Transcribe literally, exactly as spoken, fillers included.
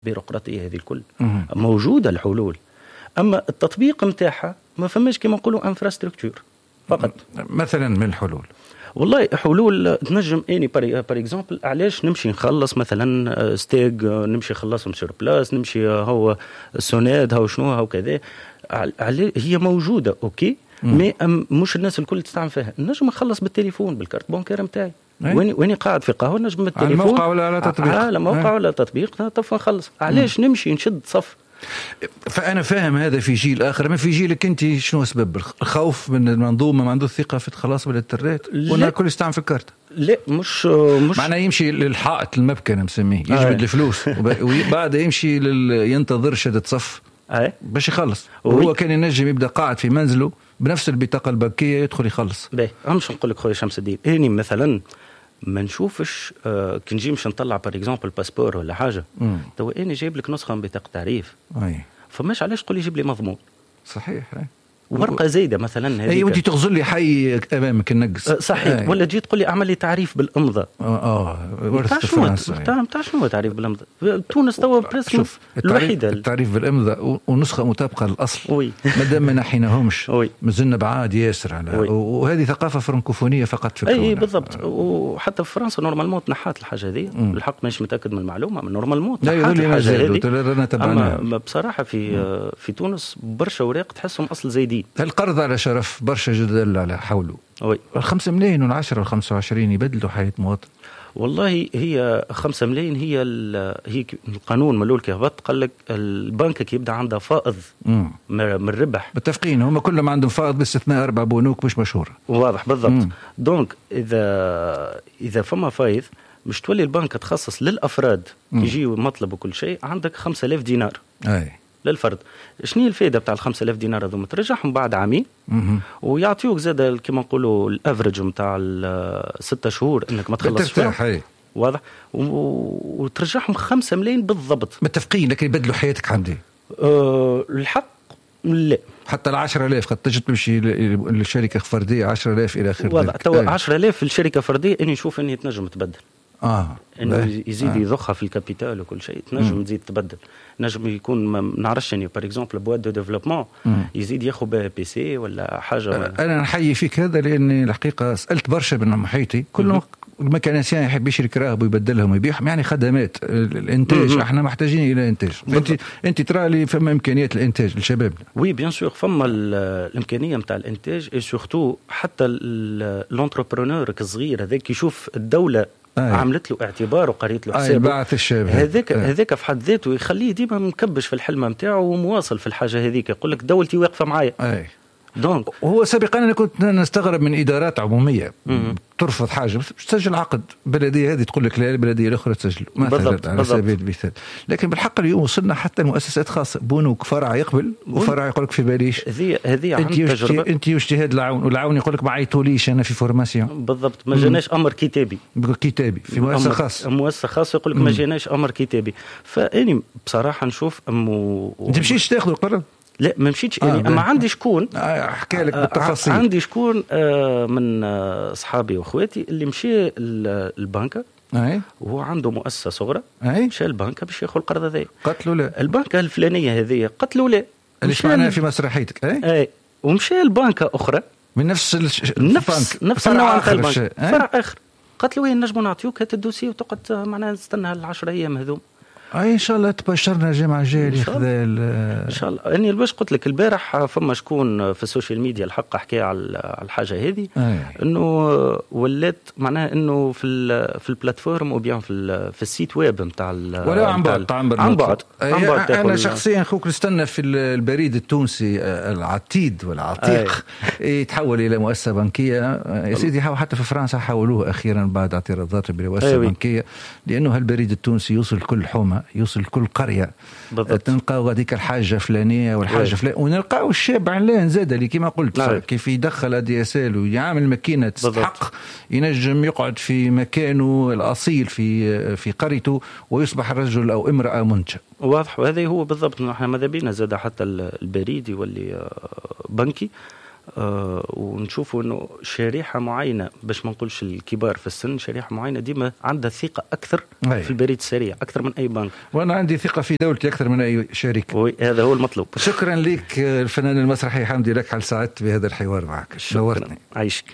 البيروقراطية هذه الكل موجودة الحلول، اما التطبيق نتاعها ما فماش كما نقولوا infrastructure فقط. مثلا من الحلول؟ والله حلول تنجم اني par exemple علاش نمشي نخلص مثلا STEG، نمشي نخلصهم sur place، نمشي هو SONEDE هو شنو هو كذا، هي موجودة OK، mais مش الناس الكل تستعمل فيها. نجم نخلص بالتليفون بال carte bancaire نتاعي وين وين قاعد في قهوه، نجم بالتليفون على الموقع ولا على تطبيق، على موقع ولا تطبيق طف نخلص. علاش نمشي نشد صف؟ فانا فاهم هذا في جيل اخر، ما في جيلك انت شنو سبب الخوف من المنظومه؟ ما عنده ثقة في الخلاص بالانترنت ولا كل يستعمل في الكارت؟ لا مش مش معناه يمشي للحائط المبكى انا مسميه، يجبد آه. الفلوس وبعد يمشي لل... ينتظر شدة صف آه. باش يخلص، وهو كان ينجم يبدا قاعد في منزله بنفس البطاقة البنكية يدخل يخلص. باهي، مش نقول لك خويا شمس الدين، اني مثلا ما نشوفش آه كي نجي مش نطلع par exemple passeport ولا حاجه، تو اني جايب لك نسخه من بطاقة تعريف، أي. فماش علاش تقول لي جيب لي مضمون؟ صحيح. أي. ورقة زايدة مثلا هذيك. اي، وانت تغزر لي حي امامك النقص. أه صحيح. أي. ولا تجي تقول لي اعمل لي تعريف بالامضاء. اه ورثه فرنسا. نتاع نتاع شنو تعريف بالامضاء؟ تونس توا presque الوحيده. التعريف بالامضاء ونسخة مطابقه للاصل oui مادام ما نحيناهمش oui مازلنا بعاد ياسر على oui. وهذه ثقافة فرنكوفونيه فقط في اي بالضبط. وحتى في فرنسا normalement تنحات الحاجة هذه، الحق مانيش متاكد من المعلومه، normalement تنحات الحاجة هذه. اما بصراحة في في تونس برشا اوراق تحسهم اصل زايدين. القرض على شرف برشا جدل على حوله. oui. الخمسة ملايين والعشرة والخمسة وعشرين يبدلوا حياة مواطن؟ والله هي خمسة ملايين هي هي القانون من الاول كي هبط قال لك البنك كي يبدا عندها فائض من الربح. متفقين، هم كلهم عندهم فائض باستثناء اربع بنوك مش مشهوره. واضح بالضبط. donc اذا اذا فما فايض مش تولي البنك تخصص للافراد يجي مطلب وكل شيء، عندك خمسة آلاف دينار اي للفرد. شنو هي الفائدة بتاع ال خمسة آلاف دينار هذوما؟ ترجعهم بعد عامين ويعطيوك زاد كيما نقولوا ال average نتاع الستة شهور انك ما تخلصش. ترتاح. واضح، وترجعهم خمسة ملايين بالضبط. متفقين، لكن يبدلوا حياتك حمدي؟ أه الحق لا. حتى ال عشرة آلاف قد تجد تمشي للشركة فردية عشرة آلاف الى اخره. واضح. تو عشرة آلاف في الشركة فردية اني نشوف اني تنجم تبدل. اه انه يزيد آه. يضخها في ال capital وكل شيء، تنجم تزيد تبدل، نجم يكون ما نعرفش يعني par exemple boîte de développement يزيد ياخذ بها PC ولا حاجة ولا. انا نحيي فيك هذا، لاني الحقيقة سالت برشا من محيطي كلهم ال mécanicien يحب يشري كراهب ويبدلهم ويبيعهم، يعني خدمات الانتاج. مم. احنا محتاجين الى انتاج. انت انت ترى لي فما امكانيات الانتاج لشبابنا؟ oui bien sûr، فما الامكانية نتاع الانتاج، et surtout حتى l'entrepreneur الصغير هذاك يشوف الدولة آه. عملت له اعتبار وقريت له حسابه. بعث الشاب هذاك. هذاك في حد ذاته يخليه ديما مكبش في الحلمة نتاعو ومواصل في الحاجة هذيك، يقول لك دولتي واقفة معايا. اي donc وهو سابقا انا كنت نستغرب من ادارات عموميه مم. ترفض حاجه، تسجل عقد بلديه هذه تقول لك لا، البلدية الاخرى تسجل مثلا بالضبط على سبيل المثال. لكن بالحق اليوم وصلنا حتى المؤسسات خاصه، بنوك، فرع يقبل وفرع يقول لك في باليش. هذه هذه عن تجربه. انت واجتهاد العون، والعون يقول لك ما عيطوليش انا في formation. بالضبط، ما جاناش امر كتابي. كتابي في مؤسسة خاصه. مؤسسة خاصة يقول لك ما جاناش امر كتابي. فاني بصراحة نشوف امو انت مشيتش تاخذ القرض؟ لا ما مشيتش. آه يعني اما عندي شكون آه حكى لك بالتفاصيل. عندي شكون آه من اصحابي واخواتي اللي مشي البنكه أي. وهو عنده مؤسسة صغرى. أي. مشى البنكه باش ياخذ القرض هذا. قتلوا لا. البنكه الفلانية هذه قتلوا لا. اللي سمعناها في مسرحيتك. اي اي ومشى البنكه اخرى من نفس الش... نفس نفس النوع نتاع البنك، فرع اخر، قالت له نجموا نعطيوك هات ال dossier وتقعد معناها نستنى العشر ايام هذوم. اي ان شاء الله تبشرنا الجمعة الجاية اللي خذا. ان شاء الله. اني باش قلت لك البارح فما شكون في ال social media الحق حكى على الحاجة هذه، انه ولات معناها انه في في ال plateforme ou bien في في ال site web نتاع ولا عن بعد. عن بعد. عن بعد. انا شخصيا خوك نستنى في البريد التونسي العتيد والعتيق يتحول الى مؤسسة بنكيه يا سيدي. حتى في فرنسا حولوه اخيرا بعد اعتراضات بمؤسسه بنكيه، لانه البريد التونسي يوصل كل حومه، يوصل كل قرية. بالضبط. تلقاو هذيك الحاجة فلانيه والحاجة فلانيه، ونلقاو الشاب علان زاد اللي كما قلت نعم. كيف يدخل ADSL ويعمل ماكينة تستحق ينجم يقعد في مكانه الاصيل في في قريته ويصبح رجل او امراة منتجه. واضح، وهذا هو بالضبط. نحن ماذا بينا زاد حتى البريد يولي بنكي. آه ونشوفوا انه شريحة معينة، باش ما نقولش الكبار في السن، شريحة معينة ديما عندها ثقة اكثر أي. في البريد السريع اكثر من اي بنك. وانا عندي ثقة في دولتي اكثر من اي شركة. oui، هذا هو المطلوب. شكرا لك الفنان المسرحي حمدي لكحل، سعدت بهذا الحوار معك، نورتني. عايشك.